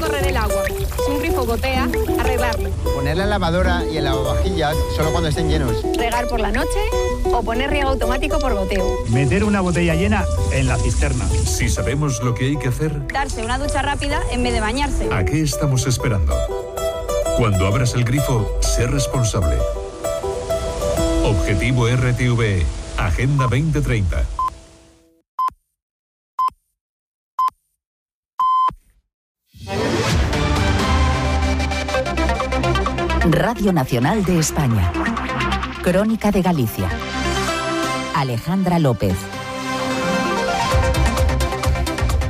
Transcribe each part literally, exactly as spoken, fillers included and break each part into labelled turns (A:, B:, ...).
A: correr el agua. Si un grifo gotea, arreglarlo.
B: Poner la lavadora y el lavavajillas solo cuando estén llenos.
A: Regar por la noche o poner riego automático por goteo.
C: Meter una botella llena en la cisterna.
D: Si sabemos lo que hay que hacer,
A: Darse una ducha rápida en vez de bañarse.
D: ¿a qué estamos esperando? Cuando abras el grifo, sé responsable. Objetivo R T V E, Agenda veinte treinta.
E: Radio Nacional de España. Crónica de Galicia. Alejandra López.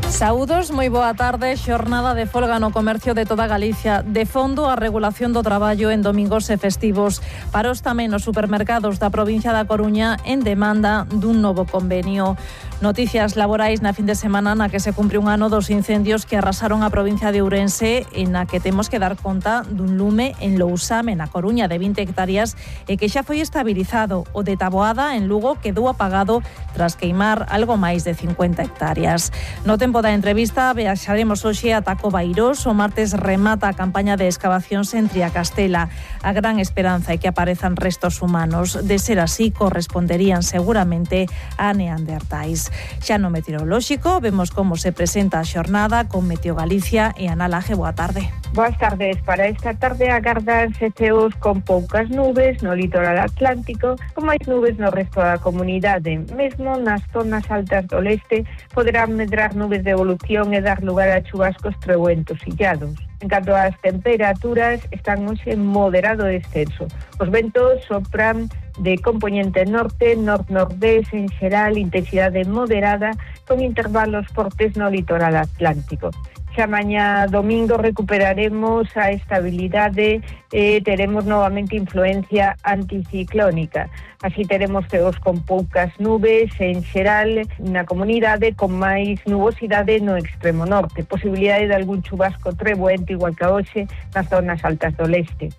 F: Saúdos, moi boa tarde. Xornada de folga no comercio de toda Galicia. De fondo, a regulación do traballo en domingos e festivos. Paros tamén os supermercados da provincia da Coruña en demanda dun novo convenio. Noticias laborais na fin de semana na que se cumpre un ano dos incendios que arrasaron a provincia de Ourense e na que temos que dar conta dun lume en Lousame, na Coruña, de vinte hectáreas e que xa foi estabilizado. O de Taboada, en Lugo, quedou apagado tras queimar algo máis de cincuenta hectáreas. No tempo da entrevista viaxaremos hoxe a Tacobairós. O martes remata a campaña de excavacións en Triacastela. A gran esperanza é que aparezan restos humanos. De ser así, corresponderían seguramente a neandertais. Xa no meteorolóxico, vemos como se presenta a xornada con Meteo Galicia e Ana Laje. Boa tarde.
G: Boas tardes. Para esta tarde agardanse ceos con poucas nubes no litoral atlántico, con máis nubes no resto da comunidade. Mesmo nas zonas altas do leste poderán medrar nubes de evolución e dar lugar a chubascos treuentos illados. En canto ás temperaturas, están hoxe en moderado descenso. Os ventos sopran de componente norte, nord-nordés en xeral, intensidade moderada, con intervalos fortes no litoral atlántico. Xa mañá domingo recuperaremos a estabilidade e teremos novamente influencia anticiclónica. Así teremos ceos con poucas nubes en xeral na comunidade, con máis nubosidade no extremo norte. Posibilidade de algún chubasco treboente igual que hoxe nas zonas altas do leste.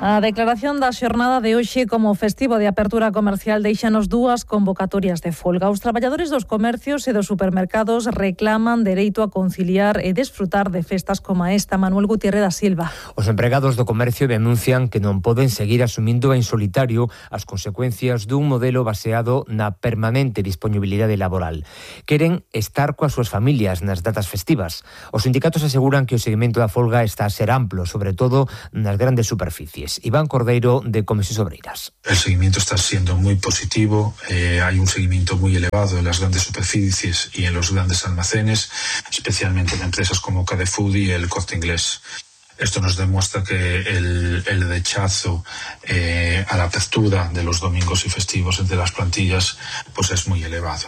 F: A declaración da xornada de hoxe como festivo de apertura comercial deixanos dúas convocatorias de folga. Os traballadores dos comercios e dos supermercados reclaman dereito a conciliar e desfrutar de festas como esta. Manuel Gutiérrez da Silva.
H: Os empregados do comercio denuncian que non poden seguir asumindo en solitario as consecuencias dun modelo baseado na permanente disponibilidade laboral. Queren estar coas súas familias nas datas festivas. Os sindicatos aseguran que o seguimento da folga está a ser amplo, sobre todo nas grandes superficies. Iván Cordeiro, de Comisións Obreiras.
I: El seguimiento está siendo muy positivo, eh, hay un seguimiento muy elevado en las grandes superficies y en los grandes almacenes, especialmente en empresas como Carrefour y el Corte Inglés. Esto nos demuestra que el, el rechazo eh, a la apertura de los domingos y festivos entre las plantillas pues es muy elevado.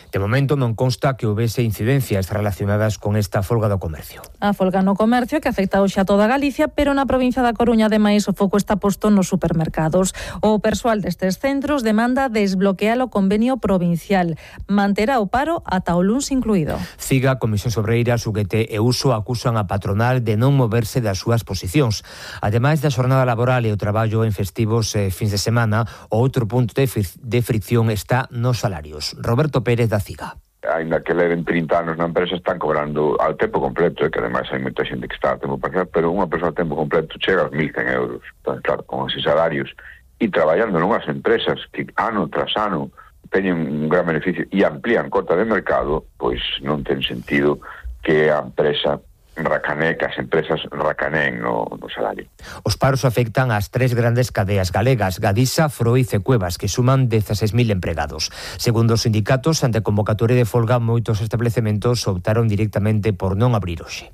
H: De momento non consta que houvese incidencias relacionadas con esta folga do comercio.
F: A folga no comercio que afecta hoxe a toda Galicia, pero na provincia da Coruña, ademais, o foco está posto nos supermercados. O persoal destes centros demanda desbloquear o convenio provincial. Manterá o paro ata o luns incluído.
H: Ciga, Comisións Obreiras, U G T e Uso acusan a patronal de non moverse das súas posicións. Ademais da xornada laboral e o traballo en festivos e fins de semana, o outro punto de, fri- de fricción está nos salarios. Roberto Pérez da Ciga.
J: Ainda que leven trinta anos na empresa, están cobrando ao tempo completo, e que ademais hai moita xente que está a tempo parcial, pero unha persoa a tempo completo chega aos mil cen euros. Entón, claro, con esos salarios e traballando nunhas empresas que ano tras ano teñen un gran beneficio e amplían cota de mercado, pois non ten sentido que a empresa racané, que as empresas racaneen no, no salario.
H: Os paros afectan ás tres grandes cadeas galegas, Gadisa, Froiz e Cuevas, que suman dezaseis mil empregados. Segundo os sindicatos, ante a convocatoria de folga, moitos establecementos optaron directamente por non abrir hoxe.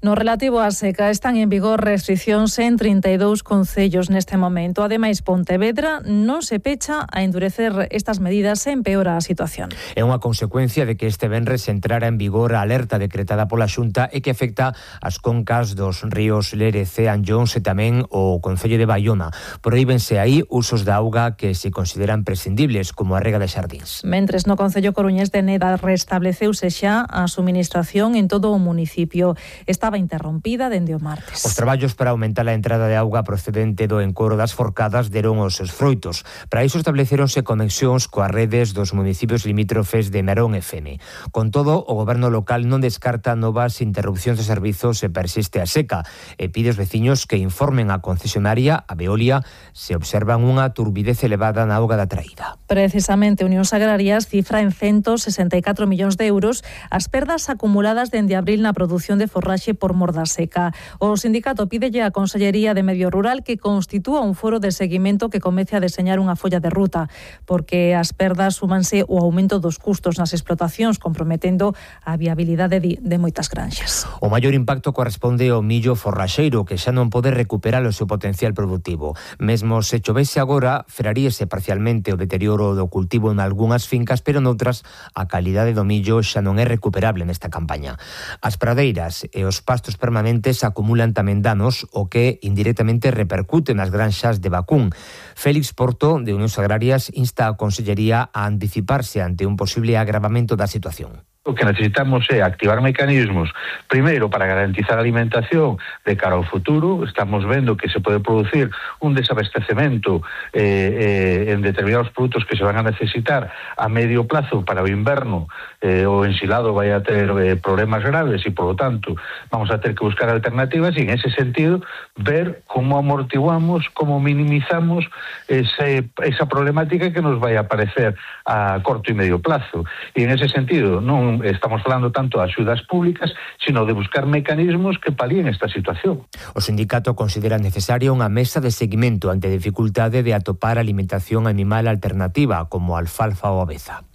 F: No relativo á seca, están en vigor restriccións en trinta e dous concellos neste momento. Ademais, Pontevedra non se pecha a endurecer estas medidas e empeora a situación.
H: É unha consecuencia de que este venres entrara en vigor a alerta decretada pola Xunta e que afecta afecta as concas dos ríos Lérez e Anllóns e tamén o concello de Baiona. Prohíbense aí usos de auga que se consideran prescindibles, como a rega de xardíns.
F: Mentres no concello coruñés de Neda restableceuse xa a suministración en todo o municipio. Estaba interrompida dende o martes.
H: Os traballos para aumentar a entrada de auga procedente do encoro das Forcadas deron os seus froitos. Para iso estableceronse conexións coas redes dos municipios limítrofes de Narón e Fene. Con todo, o goberno local non descarta novas interrupcións de servizos se persiste a seca e pide aos veciños que informen a concesionaria, a Veolia, se observan unha turbidez elevada na auga da traída.
F: Precisamente, Unións Agrarias cifra en ciento sesenta e catro millóns de euros as perdas acumuladas dende abril na produción de forraxe por mor da seca. O sindicato pídelle á Consellería de Medio Rural que constitúa un foro de seguimento que comece a deseñar unha folla de ruta, porque as perdas súmanse o aumento dos custos nas explotacións, comprometendo a viabilidade de, de moitas granxas.
H: O maior impacto corresponde ao millo forraxeiro, que xa non pode recuperar o seu potencial productivo. Mesmo se chovese agora, frearíese parcialmente o deterioro do cultivo en algunhas fincas, pero noutras a calidade do millo xa non é recuperable nesta campaña. As pradeiras e os pastos permanentes acumulan tamén danos, o que indirectamente repercute nas granxas de vacún. Félix Porto, de Unións Agrarias, insta a Consellería a anticiparse ante un posible agravamento da situación.
I: O que necesitamos é activar mecanismos, primeiro, para garantizar a alimentación de cara ao futuro. Estamos vendo que se pode producir un desabastecemento eh, eh, en determinados produtos que se van a necesitar a medio plazo para o inverno. Eh, o ensilado vai a ter eh, problemas graves e, por lo tanto, vamos a ter que buscar alternativas e, en ese sentido, ver como amortiguamos, como minimizamos ese, esa problemática que nos vai a aparecer a corto e medio plazo. E, en ese sentido, non estamos falando tanto de axudas públicas, sino de buscar mecanismos que palíen esta situación.
H: O sindicato considera necesaria unha mesa de seguimento ante a dificultade de atopar alimentación animal alternativa, como alfalfa ou aveza.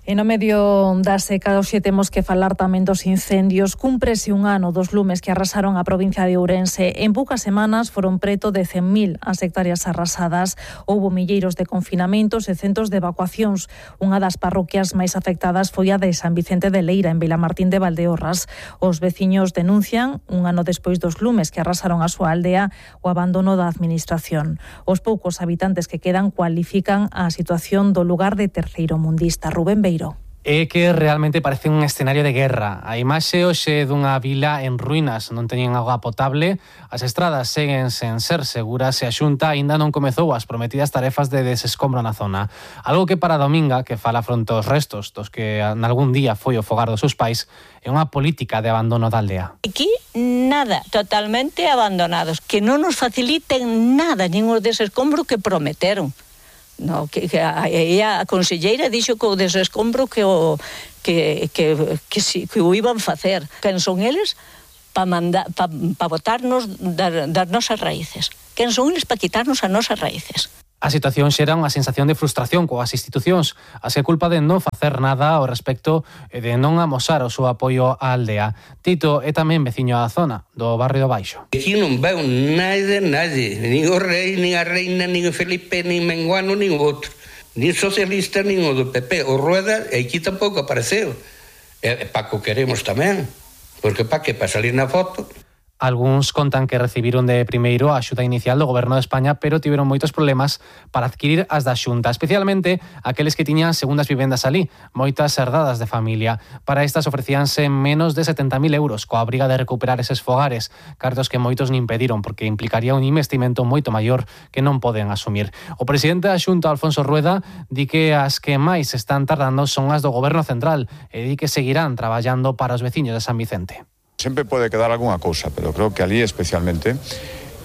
F: E no medio da seca, hoxe temos que falar tamén dos incendios. Cúmprese un ano dos lumes que arrasaron a provincia de Ourense. En poucas semanas foron preto de cen mil as hectáreas arrasadas. Houbo milleiros de confinamentos e centos de evacuacións. Unha das parroquias máis afectadas foi a de San Vicente de Leira, en Vilamartín de Valdeorras. Os veciños denuncian, un ano despois dos lumes que arrasaron a súa aldea, o abandono da administración. Os poucos habitantes que quedan cualifican a situación do lugar de terceiro mundista. Rubén Beiro.
K: É que realmente parece un escenario de guerra. A imaxe hoxe dunha vila en ruínas, non teñen auga potable, as estradas seguen sen ser seguras e a Xunta aínda non comezou as prometidas tarefas de desescombro na zona. Algo que para Dominga, que fala fronte aos restos dos que nalgún día foi o fogar dos seus pais, é unha política de abandono da aldea.
L: Aquí nada, totalmente abandonados, que non nos faciliten nada, nin o desescombro que prometeron. No, que, que a, a conselleira dixo que o desescombro que o que que que, si, que o iban facer. Quen son eles para mandar para pa botarnos das, das nosas raíces. Quen son eles para quitarnos as nosas raíces.
K: A situación xera unha sensación de frustración coas institucións, así culpa de non facer nada ao respecto e de non amosar o seu apoio á aldea. Tito é tamén veciño da zona, do barrio do Baixo.
M: Aquí non veo nada, nadie, nin o rei, nin a reina, nin o Felipe, nin Menguano, nin o outro, nin socialista, nin o do P P. O Rueda aquí tampouco apareceu. E Paco queremos tamén, porque pa que, pa salir na foto.
K: Algúns contan que recibiron de primeiro a axuda inicial do Goberno de España, pero tiveron moitos problemas para adquirir as da Xunta, especialmente aqueles que tiñan segundas vivendas alí, moitas herdadas de familia. Para estas ofrecíanse menos de setenta mil euros, coa obriga de recuperar eses fogares, cartos que moitos nin pediron, porque implicaría un investimento moito maior que non poden asumir. O presidente da Xunta, Alfonso Rueda, di que as que máis están tardando son as do Goberno Central e di que seguirán traballando para os veciños de San Vicente.
N: Sempre pode quedar algunha cousa, pero creo que ali especialmente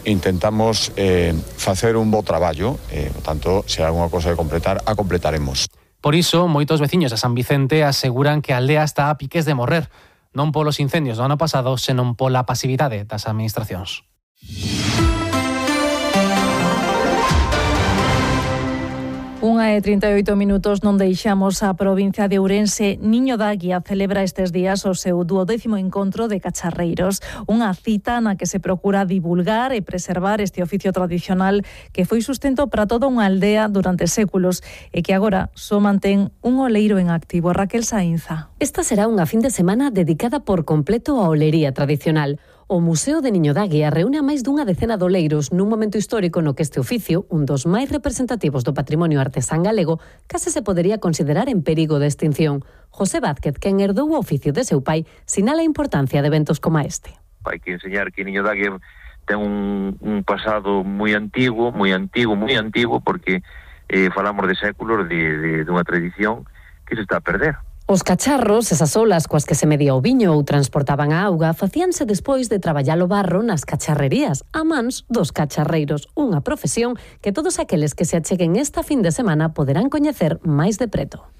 N: intentamos eh, facer un bo traballo, e, por tanto, se hai algunha cousa de completar, a completaremos.
K: Por iso, moitos veciños de San Vicente aseguran que a aldea está a piques de morrer, non polos incendios do ano pasado, senón pola pasividade das administracións.
F: Unha e trinta e oito minutos, non deixamos a provincia de Ourense. Niño da Guía celebra estes días o seu duodécimo encontro de cacharreiros, unha cita na que se procura divulgar e preservar este oficio tradicional que foi sustento para toda unha aldea durante séculos e que agora só mantén un oleiro en activo. Raquel Sainza.
O: Esta será unha fin de semana dedicada por completo á olería tradicional. O Museo de Niño da Guía reúne a máis dunha decena de oleiros nun momento histórico no que este oficio, un dos máis representativos do patrimonio artesán galego, case se podería considerar en perigo de extinción. José Vázquez, quen herdou o oficio de seu pai, sinala a importancia de eventos como este.
P: Hai que enseñar que Niño da Guía ten un, un pasado moi antigo, moi antigo, moi antigo, porque eh, falamos de séculos de, de, de unha tradición que se está a perder.
O: Os cacharros, esas olas coas que se medía o viño ou transportaban a auga, facíanse despois de traballar o barro nas cacharrerías, a mans dos cacharreiros, unha profesión que todos aqueles que se acheguen esta fin de semana poderán coñecer máis de preto.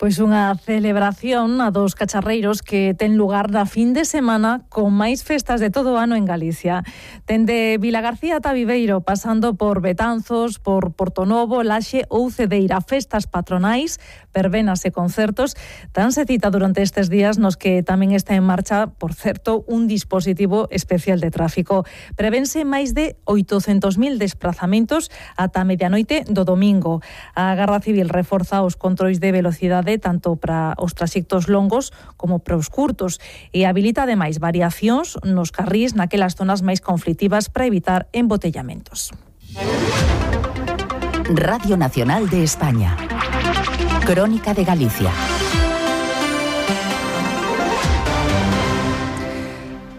F: Pois unha celebración a dos cacharreiros que ten lugar na fin de semana con máis festas de todo o ano en Galicia. Dende Vilagarcía ata Viveiro, pasando por Betanzos, por Portonovo, Laxe ou Cedeira, festas patronais, verbenas e concertos, danse cita durante estes días nos que tamén está en marcha, por certo, un dispositivo especial de tráfico. Prevense máis de oitocentos mil desplazamentos ata medianoite do domingo. A Garda Civil reforza os controis de velocidade tanto para os traxectos longos como para os curtos e habilita ademais variacións nos carrís naquelas zonas máis conflitivas para evitar embotellamentos.
E: Radio Nacional de España. Crónica de Galicia.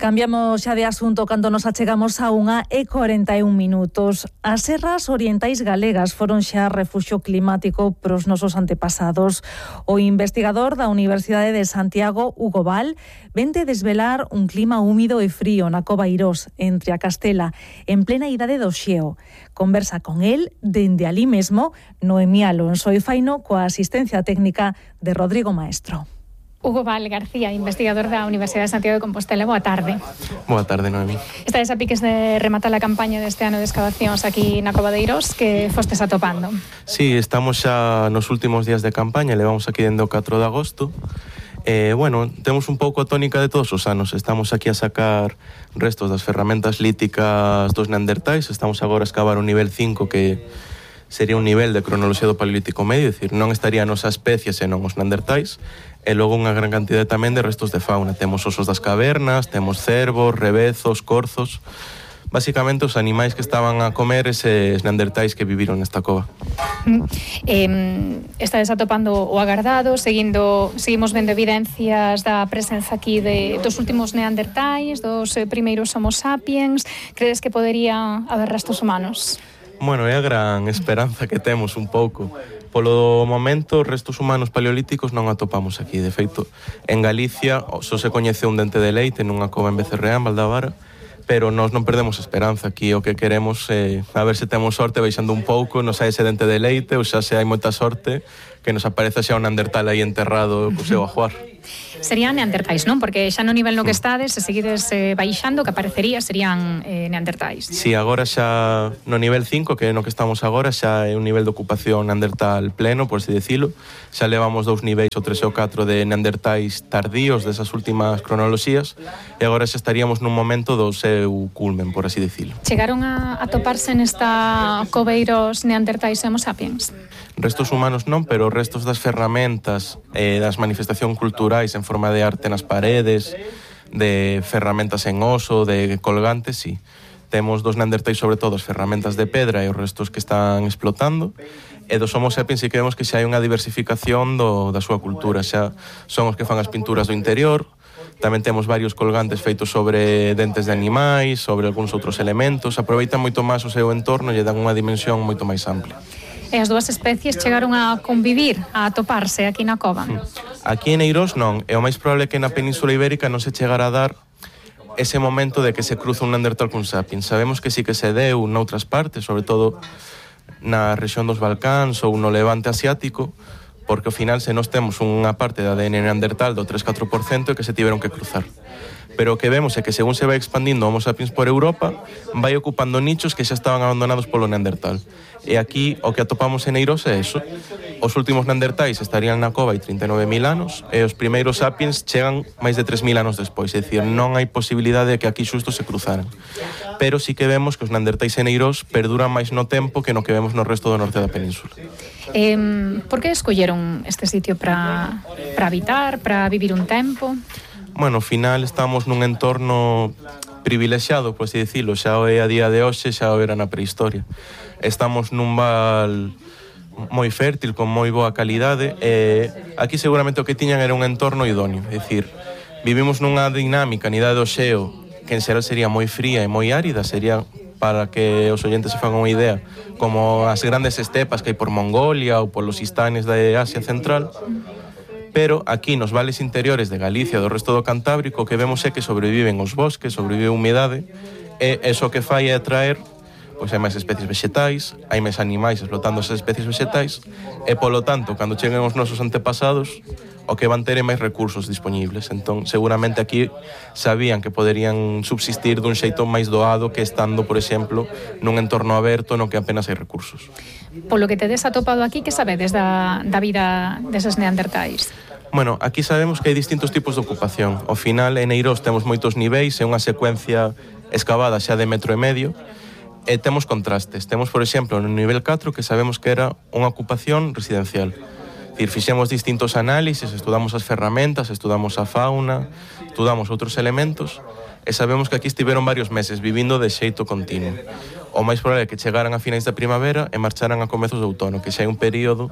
F: Cambiamos xa de asunto cando nos achegamos a unha e corenta e un minutos. As serras orientais galegas foron xa refuxio climático pros nosos antepasados. O investigador da Universidade de Santiago, Hugo Val, vente desvelar un clima húmido e frío na Cova Irós, entre a Castela, en plena idade do xeo. Conversa con el, dende alí mesmo, Noemí Alonso e Faino, coa asistencia técnica de Rodrigo Maestro.
Q: Hugo Val García, investigador da Universidade de Santiago de Compostela. Boa tarde.
R: Boa tarde, Noemí.
Q: Estades a piques de rematar a campaña deste ano de excavacións aquí na Cova de Irós, que fostes atopando.
R: Sí, estamos xa nos últimos días de campaña, levamos aquí dende o catro de agosto. Eh, bueno, temos un pouco a tónica de todos os anos. Estamos aquí a sacar restos das ferramentas líticas dos neandertais. Estamos agora a escavar o nivel cinco, que sería un nivel de cronoloxía do Paleolítico Medio, é dicir, non estaría a nosa especie senón os neandertais. E logo unha gran cantidade tamén de restos de fauna. Temos osos das cavernas, temos cervos, rebezos, corzos. Básicamente os animais que estaban a comer eses neandertais que viviron nesta cova.
Q: Mm. Eh, estades atopando o agardado, seguindo, seguimos vendo evidencias da presenza aquí de, dos últimos neandertais, dos eh, primeiros homo sapiens. Credes que podería haber restos humanos?
R: Bueno, é a gran esperanza que temos un pouco. Polo momento, restos humanos paleolíticos non atopamos aquí. De feito, en Galicia só se coñece un dente de leite nunha cova en Becerreá, en Valdavara, pero nós non perdemos esperanza. Aquí o que queremos é a ver se temos sorte baixando un pouco, nos hai ese dente de leite, ou xa se hai moita sorte, que nos aparece xa un neandertal aí enterrado co seu ajuar.
Q: Serían neandertais, non? Porque xa no nivel no que estades, se seguides eh, baixando, que aparecería serían eh, neandertais.
R: Si, sí, agora xa no nivel cinco, que é no que estamos agora, xa é un nivel de ocupación neandertal pleno, por así decirlo. Xa levamos dous niveis, o tres e o catro, de neandertais tardíos desas últimas cronoloxías, e agora xa estaríamos nun momento do seu culmen, por así decirlo.
Q: Chegaron a, a toparse nesta coveiros neandertais e homo sapiens?
R: Restos humanos non, pero restos das ferramentas eh, das manifestacións culturais en forma de arte nas paredes, de ferramentas en oso, de colgantes, sí. Temos dos neandertais, sobre todo, as ferramentas de pedra e os restos que están explotando, e dos homo sapiens si que vemos que xa hai unha diversificación do, da súa cultura, xa son os que fan as pinturas do interior. Tamén temos varios colgantes feitos sobre dentes de animais, sobre algúns outros elementos. Aproveitan moito máis o seu entorno e lle dan unha dimensión moito máis ampla.
Q: E as dúas especies chegaron a convivir, a atoparse aquí na cova?
R: Aquí en Eirós non, e o máis probable é que na Península Ibérica non se chegara a dar ese momento de que se cruza un neandertal cun sapiens. Sabemos que sí que se deu noutras partes, sobre todo na rexión dos Balcáns ou no levante asiático, porque ao final se nós temos unha parte da A D N neandertal do tres a catro por cento e que se tiveron que cruzar. pero o que vemos é que según se vai expandindo Homo sapiens por Europa, vai ocupando nichos que xa estaban abandonados polo Neandertal. E aquí o que atopamos en Eirós é eso. Os últimos Neandertais estarían na cova hai trinta e nove mil anos e os primeiros sapiens chegan máis de tres mil anos despois, é dicir, non hai posibilidade de que aquí xusto se cruzaran. Pero sí que vemos que os Neandertais en Eirós perduran máis no tempo que no que vemos no resto do norte da península.
Q: Eh, por que escolleron este sitio para para habitar, para vivir un tempo?
R: Bueno, ao final estamos nun entorno privilexiado, por así dicilo, xa o é a día de hoxe, xa o era na prehistoria. Estamos nun val moi fértil, con moi boa calidade, e aquí seguramente o que tiñan era un entorno idóneo, é dicir, vivimos nunha dinámica na idade do xeo, que en xeral sería moi fría e moi árida, sería, para que os oyentes se fagan unha idea, como as grandes estepas que hai por Mongolia ou polos istanes da Asia Central. Pero aquí nos vales interiores de Galicia e do resto do Cantábrico, o que vemos é que sobreviven os bosques, sobrevive a humidade, e eso que fai é atraer, pois hai máis especies vegetais, hai máis animais explotando esas especies vegetais, e polo tanto, cando cheguen os nosos antepasados, o que van ter é máis recursos disponibles. Entón, seguramente aquí sabían que poderían subsistir dun xeito máis doado que estando, por exemplo, nun entorno aberto no que apenas hai recursos.
Q: Polo que tedes atopado aquí, que sabedes da, da vida deses neandertais?
R: Bueno, aquí sabemos que hai distintos tipos de ocupación. Ao final, en Eirós temos moitos niveis, é unha secuencia excavada xa de metro e medio, e temos contrastes. Temos, por exemplo, no nivel catro, que sabemos que era unha ocupación residencial. É dicir, fixemos distintos análisis, estudamos as ferramentas, estudamos a fauna, estudamos outros elementos, e sabemos que aquí estiveron varios meses vivindo de xeito continuo. O máis probable é que chegaran a finais da primavera e marcharan a comezos de outono, que xa é un período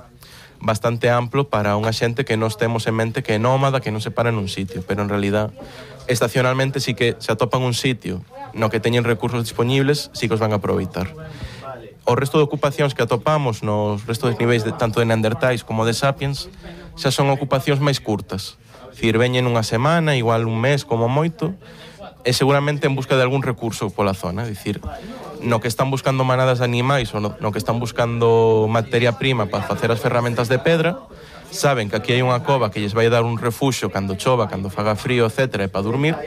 R: bastante amplo para unha xente que nos temos en mente que é nómada, que non se para nun sitio, pero en realidad estacionalmente sí que se atopan un sitio no que teñen recursos disponibles, sí que os van a aproveitar. O resto de ocupacións que atopamos nos restos de niveis de, tanto de Neandertais como de Sapiens xa son ocupacións máis curtas. É dicir, veñen unha semana, igual un mes como moito, e seguramente en busca de algún recurso pola zona. É dicir, no que están buscando manadas de animais ou no, no que están buscando materia prima para facer as ferramentas de pedra, saben que aquí hai unha cova que lles vai dar un refuxo cando chova, cando faga frío, etcétera, e para dormir,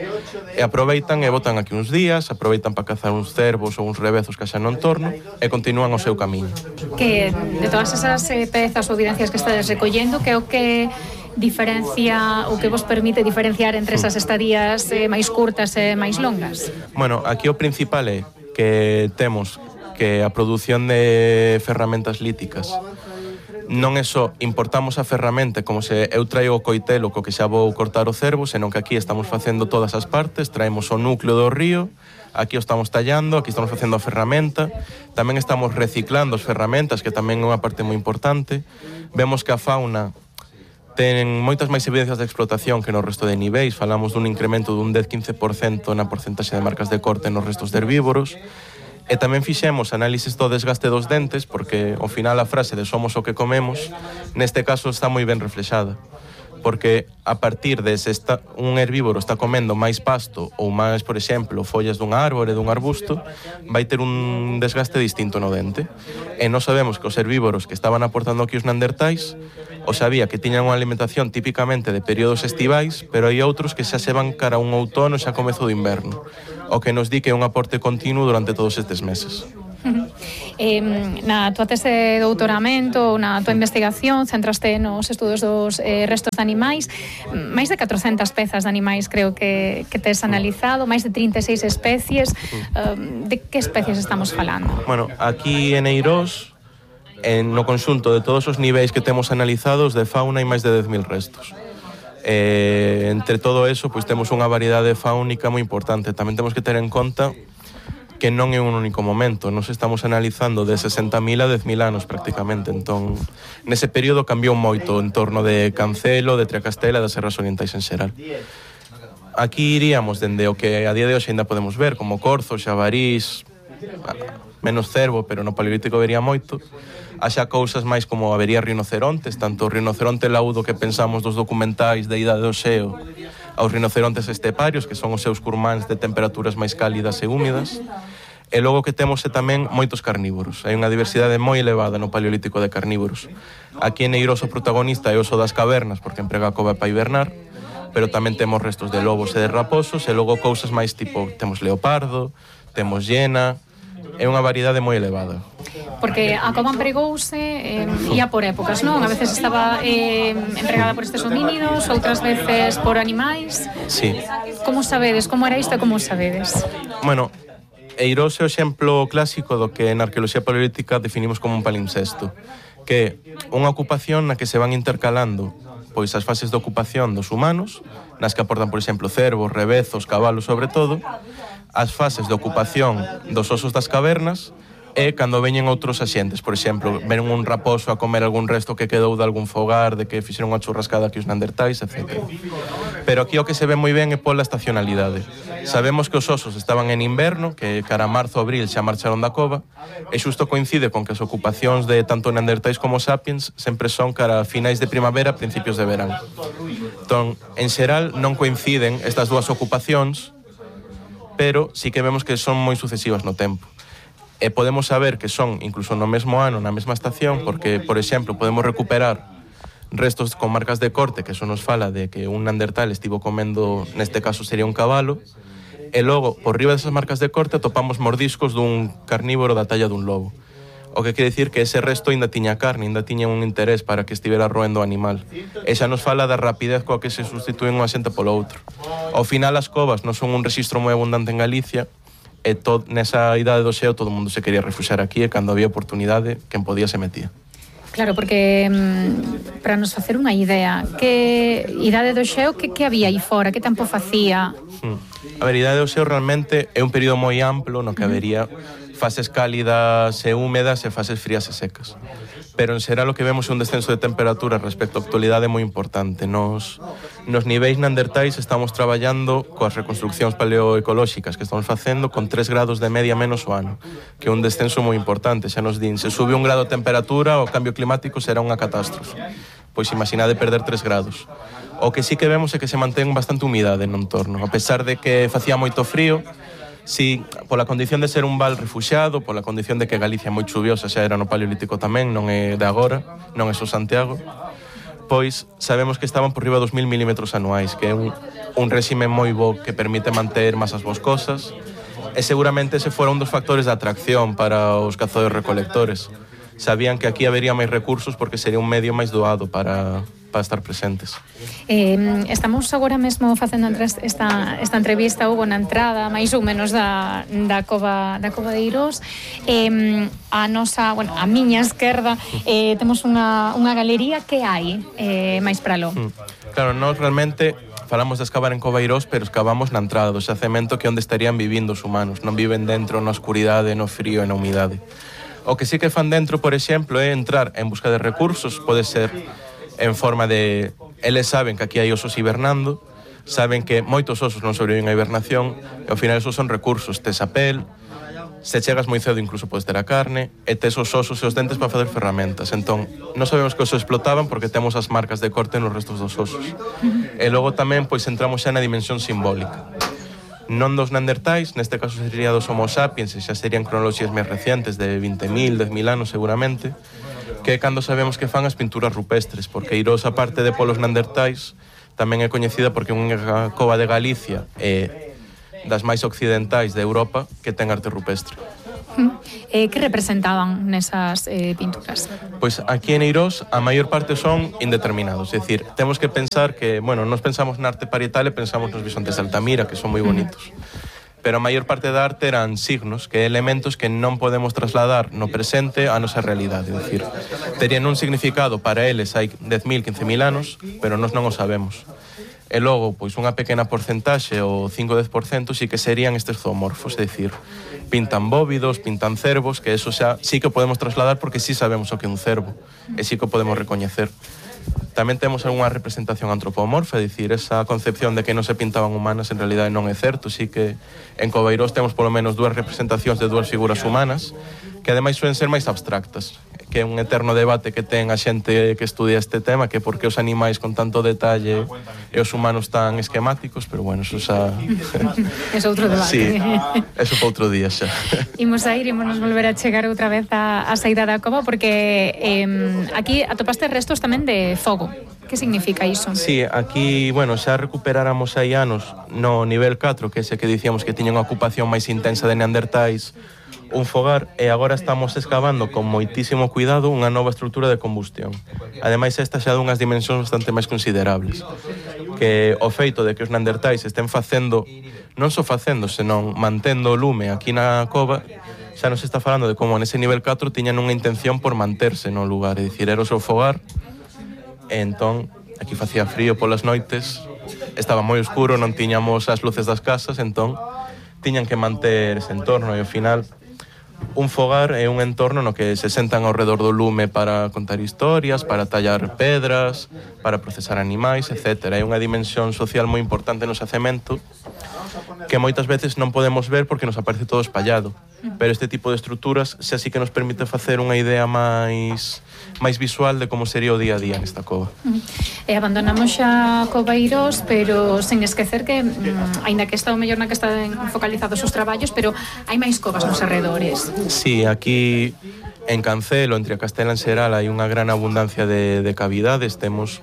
R: e aproveitan e botan aquí uns días, aproveitan para cazar uns cervos ou uns revezos que xa no entorno e continúan o seu camiño.
Q: Que de todas esas eh, pezas ou evidencias que estades recollendo, que é o que diferencia ou que vos permite diferenciar entre esas estadías eh, máis curtas e máis longas?
R: Bueno, aquí o principal é que temos que a produción de ferramentas líticas non é só importamos a ferramenta como se eu traio o coitelo co que xa vou cortar o cervo, senón que aquí estamos facendo todas as partes, traemos o núcleo do río, aquí o estamos tallando, aquí estamos facendo a ferramenta, tamén estamos reciclando as ferramentas, que tamén é unha parte moi importante. Vemos que a fauna ten moitas máis evidencias de explotación que no resto de niveis, falamos dun incremento dun dez a quince por cento na porcentaxe de marcas de corte nos restos de herbívoros, e tamén fixemos análisis do desgaste dos dentes, porque ao final a frase de somos o que comemos, neste caso está moi ben reflexada, porque a partir de se está, un herbívoro está comendo máis pasto ou máis, por exemplo, follas dun árbore, dun arbusto, vai ter un desgaste distinto no dente. E non sabemos que os herbívoros que estaban aportando aquí os neandertais o sabía que tiñan unha alimentación típicamente de períodos estivais, pero hai outros que xa se van cara a un outono xa comezo do inverno, o que nos di que é un aporte continuo durante todos estes meses.
Q: Eh, na tua tese de doutoramento, na tua investigación, centraste nos estudos dos eh, restos de animais, máis de catrocentas pezas de animais creo que, que tes analizado, máis de trinta e seis especies. Uh, de que especies estamos falando?
R: Bueno, aquí en Eirós, en, no conxunto de todos os niveis que temos analizados de fauna hai máis de dez mil restos. Eh, entre todo eso, pois temos unha variedade fáunica moi importante. Tamén temos que ter en conta que non é un único momento. Nos estamos analizando de sesenta mil a dez mil anos prácticamente. Entón, nese período cambiou moito en torno de Cancelo, de Triacastela e das Serras Orientais en xeral. Aquí iríamos dende o que a día de hoxe ainda podemos ver, como corzo, xabarís, menos cervo, pero no paleolítico vería moito. Haxa cousas máis como habería rinocerontes, tanto o rinoceronte laudo que pensamos dos documentais da idade do xeo, aos rinocerontes esteparios, que son os seus curmáns de temperaturas máis cálidas e húmidas. E logo que temos é tamén moitos carnívoros. Hai unha diversidade moi elevada no paleolítico de carnívoros. Aquí en Eirós o protagonista é o oso das cavernas, porque emprega a cova para hibernar, pero tamén temos restos de lobos e de raposos, e logo cousas máis tipo, temos leopardo, temos hiena, é unha variedade moi elevada.
Q: Porque a cova empregouse eh, ia por épocas, non? A veces estaba eh, empregada por estes homínidos, outras veces por animais.
R: Sí.
Q: Como sabedes? Como era isto e como sabedes?
R: Bueno, Eirós é o exemplo clásico do que na arqueoloxía paleolítica definimos como un palimpsesto, que é unha ocupación na que se van intercalando pois as fases de ocupación dos humanos, nas que aportan, por exemplo, cervos, rebezos, cabalos, sobre todo, as fases de ocupación dos osos das cavernas, e cando veñen outros axentes, por exemplo, ven un raposo a comer algún resto que quedou de algún fogar, de que fixeron unha churrascada que os neandertais, etcétera. Pero aquí o que se ve moi ben é pola estacionalidade. Sabemos que os osos estaban en inverno, que cara a marzo, abril xa marcharon da cova, e xusto coincide con que as ocupacións de tanto neandertais como sapiens sempre son cara a finais de primavera, principios de verán. Entón, en xeral, non coinciden estas dúas ocupacións, pero sí que vemos que son moi sucesivas no tempo. E podemos saber que son incluso no mesmo ano, na mesma estación, porque, por exemplo, podemos recuperar restos con marcas de corte, que eso nos fala de que un neandertal estivo comendo, neste caso sería un cabalo, e logo, por riba desas marcas de corte, atopamos mordiscos dun carnívoro da talla dun lobo. O que quere dicir que ese resto ainda tiña carne, ainda tiña un interés para que estivera roendo o animal. E xa nos fala da rapidez coa que se sustituen unha xente polo outro. Ao final, as covas non son un rexistro moi abundante en Galicia, e to, nesa idade do xeo todo o mundo se quería refuxar aquí, e cando había oportunidade, quen podía se metía.
Q: Claro, porque mm, para nos facer unha idea, que idade do xeo, que, que había aí fora, que tempo facía?
R: Hmm. A ver, idade do xeo realmente é un período moi amplo no que habería fases cálidas e húmedas e fases frías e secas. Pero en xeral o que vemos é un descenso de temperatura respecto á actualidade moi importante. Nos, nos niveis neandertais estamos traballando coas reconstruccións paleoecolóxicas que estamos facendo con tres grados de media menos o ano, que é un descenso moi importante. Xa nos din, se sube un grado de temperatura, o cambio climático será unha catástrofe. Pois imaginade perder tres grados. O que sí que vemos é que se mantén bastante humidade no entorno. A pesar de que facía moito frío, si pola condición de ser un val refuxiado, pola condición de que Galicia é moi chuviosa, xa era no Paleolítico tamén, non é de agora, non é só Santiago, pois sabemos que estaban por riba dos mil milímetros anuais, que é un, un réxime moi bo que permite manter masas boscosas, e seguramente ese fora un dos factores de atracción para os cazadores recolectores. Sabían que aquí habería máis recursos porque sería un medio máis doado para... para estar presentes.
Q: Eh, estamos agora mesmo facendo esta, esta entrevista, Hugo, na entrada máis ou menos da, da, cova, da cova de Eirós. Eh, a nosa, bueno, a miña esquerda eh, temos unha, unha galería que hai eh, máis para lo.
R: Claro, nós realmente falamos de escavar en Cova Eirós, pero escavamos na entrada do xacemento, que é onde estarían vivindo os humanos. Non viven dentro na oscuridade, no frío e na humidade. O que sí que fan dentro, por exemplo, é entrar en busca de recursos, pode ser en forma de... Eles saben que aquí hai osos hibernando, saben que moitos osos non sobreviven a hibernación, e ao final esos son recursos. Tes a pel, se chegas moi cedo incluso podes ter a carne, e tes os osos e os dentes para facer ferramentas. Entón, non sabemos que os explotaban porque temos as marcas de corte nos restos dos osos. E logo tamén pois entramos xa na dimensión simbólica. Non dos neandertais, neste caso sería dos homo sapiens, e xa serían cronoloxías máis recientes de vinte mil, dez mil anos seguramente, que é cando sabemos que fan as pinturas rupestres, porque Eirós, aparte de polos neandertais, tamén é coñecida porque é unha cova de Galicia e das máis occidentais de Europa que ten arte rupestre.
Q: Eh, que representaban nesas eh, pinturas?
R: Pois aquí en Eirós a maior parte son indeterminados, é dicir, temos que pensar que, bueno, nos pensamos na arte parietal e pensamos nos bisontes de Altamira, que son moi bonitos. Pero a maior parte da arte eran signos, que elementos que non podemos trasladar no presente á nosa realidade. É dicir, terían un significado para eles hai dez mil, quince mil anos, pero nós non o sabemos. E logo, pois unha pequena porcentaxe, o cinco a dez por cento, sí que serían estes zoomorfos, é dicir, pintan bóvidos, pintan cervos, que eso xa sí que podemos trasladar porque sí sabemos o que é un cervo, e sí que o podemos recoñecer. Tamén temos algunha representación antropomorfa, é dicir, esa concepción de que non se pintaban humanas en realidade non é certo, sí que en Cova Eirós temos polo menos dúas representacións de dúas figuras humanas, que ademais suelen ser máis abstractas, que é un eterno debate que ten a xente que estudia este tema, que por que os animais con tanto detalle e os humanos tan esquemáticos, pero bueno, eso xa...
Q: É outro debate.
R: Sí, eso para outro día xa.
Q: Imos a ir, imos nos volver a chegar outra vez a, a saída da cova, porque eh, aquí atopaste restos tamén de fogo, que significa iso?
R: Sí, aquí, bueno, xa recuperáramos hai anos no nivel catro, que é ese que dicíamos que tiña unha ocupación máis intensa de neandertais, un fogar, e agora estamos excavando con moitísimo cuidado unha nova estrutura de combustión. Ademais, esta xa dunhas dimensións bastante máis considerables, que o feito de que os neandertais estén facendo, non só facendo, senón mantendo o lume aquí na cova, xa nos está falando de como nese nivel catro tiñan unha intención por manterse no lugar, é dicir, era o seu fogar, e entón, aquí facía frío polas noites, estaba moi oscuro, non tiñamos as luces das casas, entón, tiñan que manter ese entorno, e ao final, un fogar é un entorno no que se sentan ao redor do lume para contar historias, para tallar pedras, para procesar animais, etcétera. É unha dimensión social moi importante no xacemento que moitas veces non podemos ver porque nos aparece todo espallado. Pero este tipo de estruturas xa sí que nos permite facer unha idea máis máis visual de como sería o día a día nesta cova.
Q: E abandonamos xa Coveiros, pero sen esquecer que, mm, aínda que está o mellor na que están focalizados os traballos, pero hai máis covas nos arredores.
R: Sí, aquí en Cancelo, entre a Castela en Xeral, hai unha gran abundancia de, de cavidades. Temos,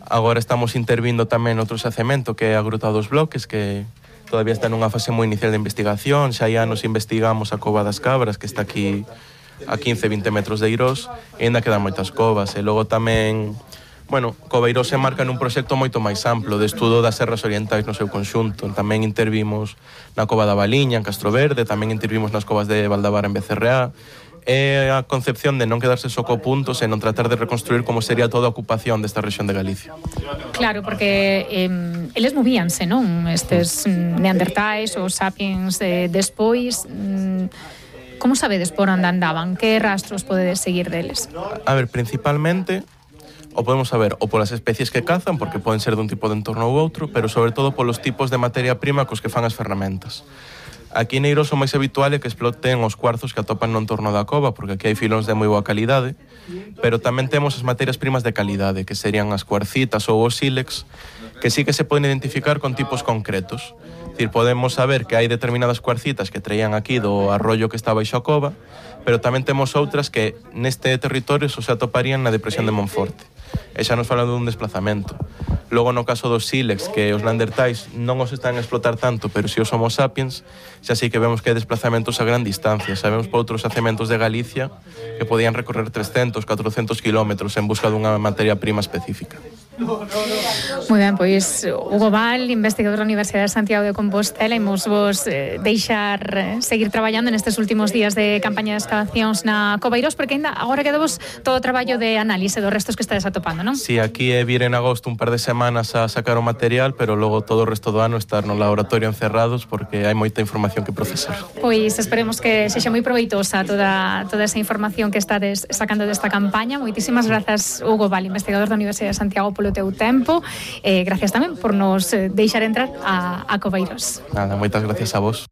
R: agora estamos intervindo tamén outro xacemento que é a Gruta dos Bloques, que todavía está nunha fase moi inicial de investigación. Xa hai anos investigamos a Cova das Cabras, que está aquí a quince a vinte metros de Eirós, e ainda quedan moitas covas. E logo tamén, bueno, Coveiros se marca nun proxecto moito máis amplo de estudo das serras orientais no seu conxunto. Tamén intervimos na Cova da Baliña, en Castro Verde, tamén intervimos nas covas de Valdabar en Becerreá. É a concepción de non quedarse só co punto, senón tratar de reconstruir como sería toda a ocupación desta rexión de Galicia.
Q: Claro, porque eh, eles movíanse, non? Estes neandertais ou sapiens eh, despois... Mm, como sabedes por onde andaban? Que rastros podedes seguir deles?
R: A ver, principalmente o podemos saber ou polas especies que cazan, porque poden ser dun tipo de entorno ou outro, pero sobre todo polos tipos de materia prima cos que fan as ferramentas. Aquí en Eirós o máis habitual é que exploten os cuarzos que atopan no entorno da cova, porque aquí hai filóns de moi boa calidade, pero tamén temos as materias primas de calidade, que serían as cuarcitas ou os sílex, que sí que se poden identificar con tipos concretos. É dicir, podemos saber que hai determinadas cuarcitas que traían aquí do arroyo que está baixo a cova, pero tamén temos outras que neste territorio só se atoparían na depresión de Monforte. E xa nos falan dun desplazamento. Logo, no caso dos sílex, que os neandertais non os están a explotar tanto, pero si os homo sapiens, xa sí que vemos que hai desplazamentos a gran distancia. Sabemos por outros xacementos de Galicia que podían recorrer trescentos, catrocentos kilómetros en busca dunha materia prima específica.
Q: Moi ben, pois Hugo Val, investigador da Universidade de Santiago de Compostela, imos vos eh, deixar eh, seguir traballando nestes últimos días de campaña de excavacións na Coveiros, porque ainda agora quedamos todo o traballo de análise dos restos que estades atopando, non?
R: Si, sí, aquí é vir en agosto un par de semanas a sacar o material, pero logo todo o resto do ano estar no laboratorio encerrados porque hai moita información que procesar.
Q: Pois esperemos que sexa moi proveitosa toda, toda esa información que estades sacando desta campaña. Moitísimas grazas, Hugo Val, investigador da Universidade de Santiago, polo teu tempo. Eh, gracias tamén por nos deixar entrar a, a Coveiros.
R: Nada, moitas gracias a vos.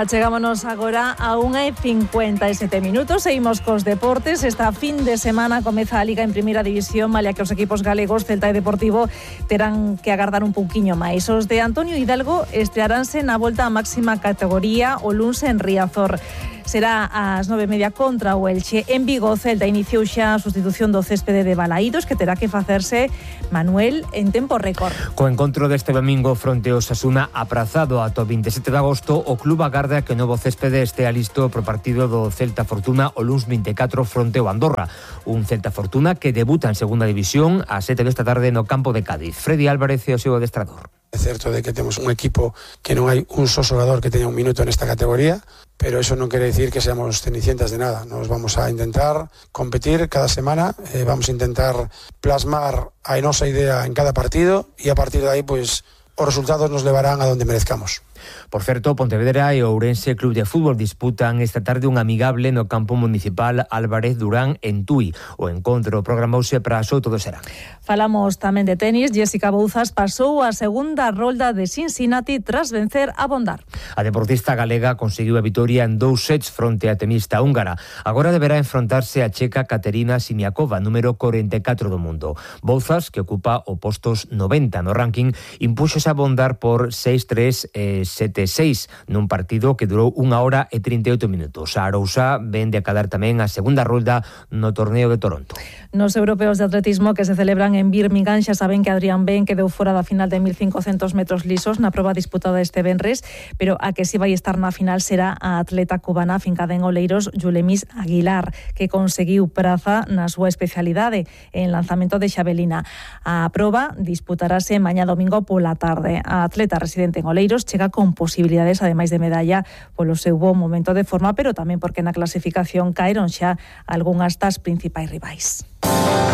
F: Chegámonos agora a unha e cincuenta e sete minutos. Seguimos cos deportes. Esta fin de semana comeza a Liga en Primeira División, malia que os equipos galegos Celta e Deportivo terán que agardar un pouquiño máis. Os de Antonio Hidalgo estrearánse na volta á máxima categoría o luns en Riazor. Será ás nove e media contra o Elche. En Vigo, Celta iniciou xa a sustitución do céspede de Balaídos, que terá que facerse Manuel en tempo récord.
H: Co encontro deste domingo fronte ao Osasuna aprazado ata o vinte e sete de agosto, o club agarda que o novo céspede estea listo pro partido do Celta Fortuna o luns vinte e catro fronte ao Andorra. Un Celta Fortuna que debuta en segunda división ás sete desta tarde no campo de Cádiz. Freddy Álvarez é o seu adestrador.
S: É certo de que temos un equipo que non hai un só xogador que teña un minuto nesta categoría, pero eso non quere decir que seamos cenicientas de nada. Nos vamos a intentar competir cada semana, eh, vamos a intentar plasmar a nosa idea en cada partido e a partir de aí, pois, os resultados nos levarán a donde merezcamos.
H: Por certo, Pontevedra e Ourense Club de Fútbol disputan esta tarde un amigable no campo municipal Álvarez Durán en Tui. O encontro programouse para as oito do serán.
F: Falamos tamén de tenis. Jessica Bouzas pasou a segunda rolda de Cincinnati tras vencer a Bondar.
H: A deportista galega conseguiu a vitoria en dous sets fronte a tenista húngara. Agora deberá enfrontarse a checa Katerina Simiakova, número corenta e catro do mundo. Bouzas, que ocupa o postos noventa no ranking, impúxose a Bondar por seis tres e sete seis nun partido que durou unha hora e trinta e oito minutos. A Arousa ven de acadar tamén a segunda rolda no torneo de Toronto.
F: Nos europeos de atletismo que se celebran en Birmingham xa saben que Adrián Ben quedou fora da final de mil cincocentos metros lisos na proba disputada este venres, pero a que si vai estar na final será a atleta cubana fincada en Oleiros, Yulemis Aguilar, que conseguiu praza na súa especialidade en lanzamento de xavelina. A proba disputarase mañá domingo pola tarde. A atleta residente en Oleiros chega con posibilidades, ademais de medalla, polo seu bo momento de forma, pero tamén porque na clasificación caeron xa algunhas das principais rivais.